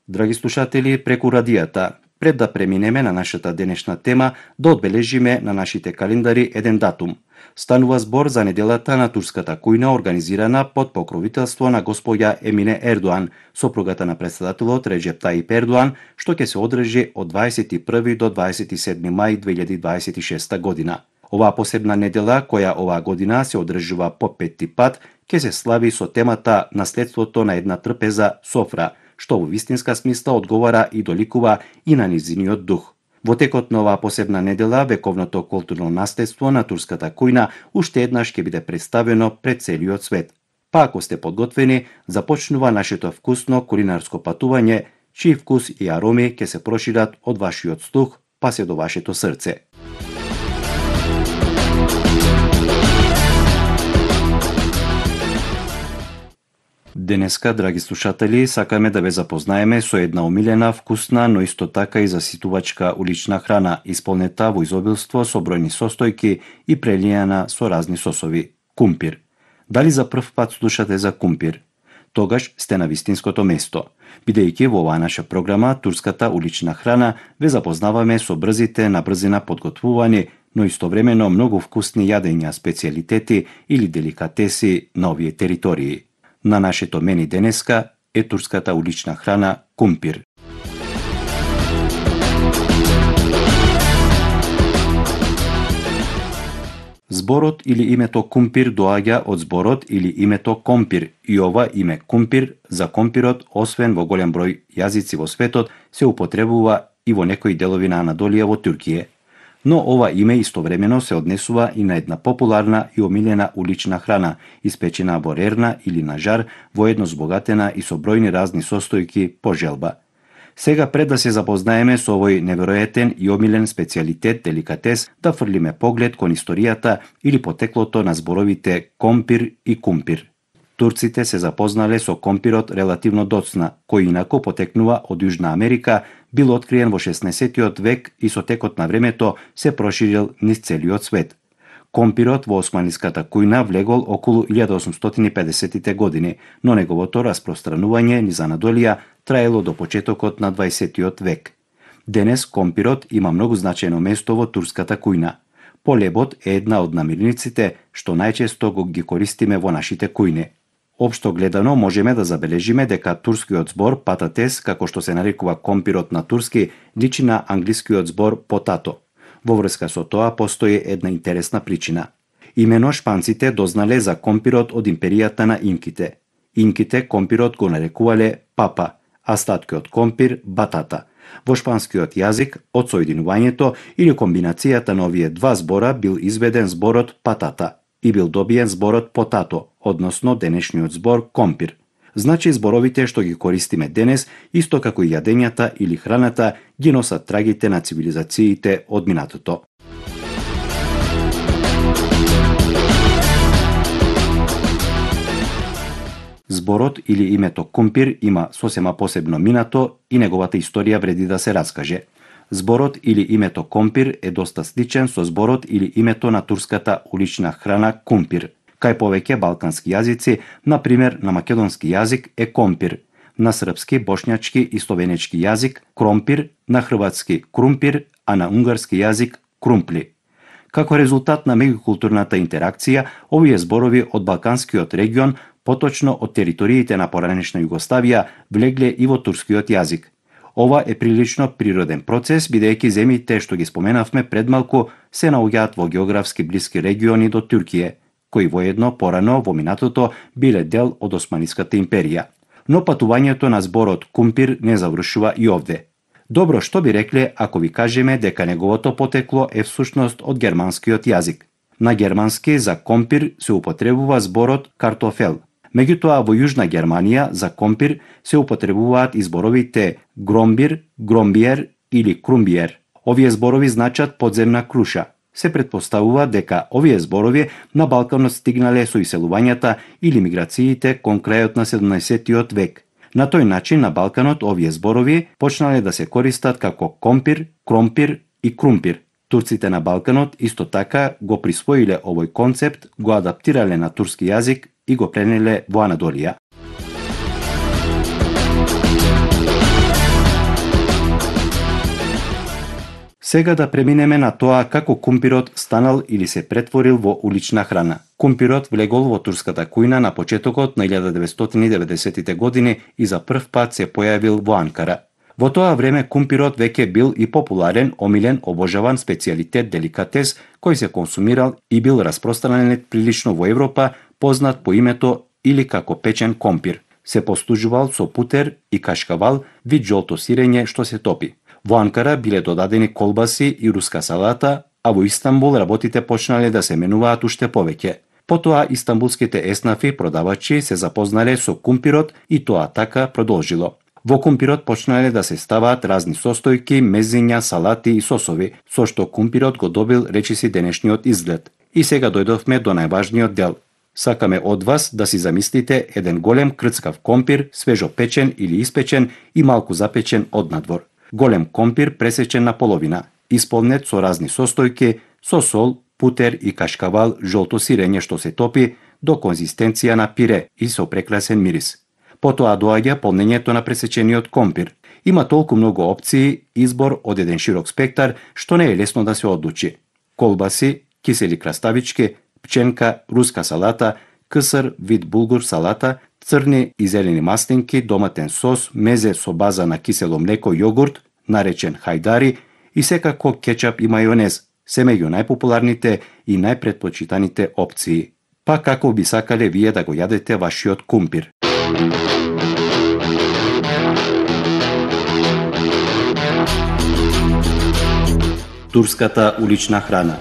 Драги слушатели, преку радијата, пред да преминеме на нашата денешна тема, да одбележиме на нашите календари еден датум. Станува збор за неделата на турската кујна, организирана под покровителство на госпоѓа Емине Ердоан, сопругата на претседателот Реджеп Таип Ердоан, што ќе се одржи од 21 до 27 мај 2026 година. Оваа посебна недела, која оваа година се одржува по 5-ти пат, ќе се слави со темата наследството на една трпеза софра, што во вистинска смисла одговара и доликува и на низиниот дух. Во текот на оваа посебна недела, вековното културно наследство на турската кујна уште еднаш ќе биде представено пред целиот свет. Па ако сте подготвени, започнува нашето вкусно кулинарско патување, чиј вкус и ароми ќе се прошират од вашиот слух па се до вашето срце. Денеска, драги слушатели, сакаме да ве запознаеме со една омилена, вкусна, но исто така и заситувачка улична храна, исполнета во изобилство со бројни состојки и прелијана со разни сосови – кумпир. Дали за прв пат слушате за кумпир? Тогаш сте на вистинското место, бидејќи во оваа наша програма турската улична храна ве запознаваме со брзите на брзина подготвувани, но истовремено многу вкусни јадења, специјалитети или деликатеси на овие територии. На нашето мени денеска е турската улична храна кумпир. Зборот или името кумпир доаѓа од зборот или името компир и ова име кумпир за компирот, освен во голем број јазици во светот, се употребува и во некои делови на Анадолија во Туркија. Но ова име истовремено се однесува и на една популарна и омилена улична храна, испечена во рерна или на жар, воедно збогатена и со бројни разни состојки по желба. Сега, пред да се запознаеме со овој неверојатен и омилен специјалитет, деликатес, да фрлиме поглед кон историјата или потеклото на зборовите компир и кумпир. Турците се запознале со компирот релативно доцна, кој инаку потекнува од Јужна Америка, бил откриен во 16-тиот век и со текот на времето се проширил низ целиот свет. Компирот во османиската кујна влегол околу 1850-тите години, но неговото распространување низ Анадолија траело до почетокот на 20-тиот век. Денес компирот има многу значајно место во турската кујна. Полебот е една од намирниците што најчесто ги користиме во нашите кујни. Општо гледано можеме да забележиме дека турскиот збор пататес, како што се нарекува компирот на турски, личи на англискиот збор потато. Во врска со тоа постои една интересна причина. Имено шпанците дознале за компирот од империјата на инките. Инките компирот го нарекувале папа, а статкиот компир батата. Во шпанскиот јазик, од соединувањето или комбинацијата на овие два збора бил изведен зборот патата и бил добиен зборот потато, односно денешниот збор компир. Значи зборовите што ги користиме денес, исто како и јадењата или храната, ги носат трагите на цивилизациите од минатото. Зборот или името кумпир има сосема посебно минато и неговата историја вреди да се раскаже. Зборот или името компир е доста сличен со зборот или името на турската улична храна кумпир. Кај повеќе балкански јазици, например на македонски јазик е компир, на српски, бошњачки и словенечки јазик кромпир, на хрватски крумпир, а на унгарски јазик крумпли. Како резултат на меѓукултурната интеракција, овие зборови од балканскиот регион, поточно од териториите на поранешна Југославија, влегле и во турскиот јазик. Ова е прилично природен процес, бидејќи земјите што ги споменавме пред малку се наоѓаат во географски блиски региони до Туркија, кои воедно порано во минатото биле дел од Османиската империја. Но патувањето на зборот кумпир не завршува и овде. Добро, што би рекле ако ви кажеме дека неговото потекло е всушност од германскиот јазик. На германски за компир се употребува зборот картофел. Меѓутоа во Јужна Германија за компир се употребуваат и зборовите громбир, громбиер или крумбиер. Овие зборови значат подземна круша. Се претпоставува дека овие зборови на Балканот стигнале со иселувањата или миграциите кон крајот на 17-тиот век. На тој начин на Балканот овие зборови почнале да се користат како компир, кромпир и крумпир. Турците на Балканот исто така го присвоиле овој концепт, го адаптирале на турски јазик и го пренеле во Анадолија. Сега да преминеме на тоа како кумпирот станал или се претворил во улична храна. Кумпирот влегол во турската кујна на почетокот на 1990-тите години и за прв пат се појавил во Анкара. Во тоа време кумпирот веќе бил и популарен, омилен, обожаван специјалитет деликатес кој се консумирал и бил распространет прилично во Европа, познат по името или како печен компир. Се послужувал со путер и кашкавал, вид жолто сирење што се топи. Во Анкара биле додадени колбаси и руска салата, а во Истанбул работите почнале да се менуваат уште повеќе. Потоа истанбулските еснафи продавачи се запознале со кумпирот и тоа така продолжило. Во кумпирот почнале да се ставаат разни состојки, мезиња, салати и сосови, со што кумпирот го добил речиси денешниот изглед. И сега дојдовме до најважниот дел. Сакаме од вас да си замислите еден голем крцкав компир, свежо печен или испечен и малку запечен однадвор. Голем компир пресечен на половина, исполнет со разни состојки, со сол, путер и кашкавал, жолто сирење што се топи до конзистенција на пире и со прекрасен мирис. Потоа доаѓа полнењето на пресечениот компир. Има толку многу опции, избор од еден широк спектар, што не е лесно да се одлучи. Колбаси, кисели краставички, пченка, руска салата, кср, вид булгур салата, црни и зелени маслинки, доматен сос, мезе со база на кисело млеко, јогурт, наречен хајдари и секако кетчап и мајонез, се меѓу најпопуларните и најпретпочитаните опции. Па како би сакале вие да го јадете вашиот кумпир? Турската улична храна.